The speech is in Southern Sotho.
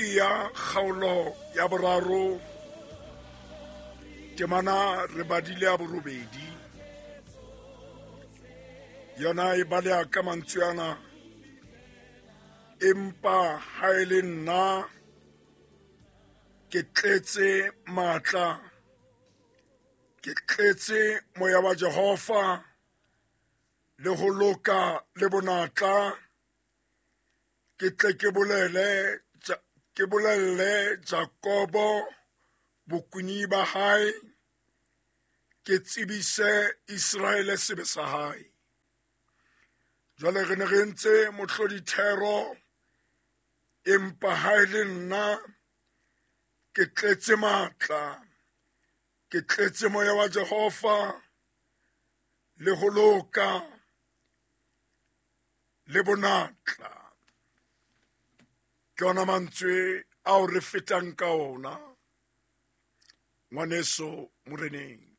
Hesekia kgaolo ya boraro temana re badile ya borobedi yona e baleha ka mantswe ana empa ha e le nna ke tletse matla ke tletse moya wa Jehova le ho loka le bonatla ke tle ke bolele ke bolelle Jakobo bokuni ba hae ke tsebise Iseraele sebe sa hae. Jwale re ne re entse mohlodithero empa ha e le nna ke tletse matla ke tletse moya wa Jehova le ho loka le bonatla. Ke ona mantswe ao re fetang ka ona ngwaneso moreneng.